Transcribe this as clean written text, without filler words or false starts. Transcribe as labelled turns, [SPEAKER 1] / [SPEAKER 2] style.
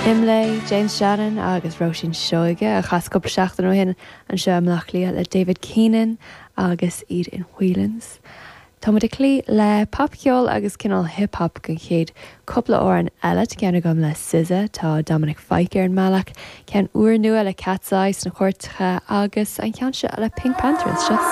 [SPEAKER 1] Imlé, James Shannon agus Róisín Seoige, a chas cúpla seachtain ó shin anseo i mBleá Cliath le David Keenan agus iad in Whelans. Tá muid ag cloí le popcheol agus cineál hip hop don chéad cúpla amhrán eile. Tá ceann agam le SZA, tá Dominic Fike ar an mbealach, ceann úrnua le Katseye sna cairteacha agus an ceann seo le PinkPantheress. Seo.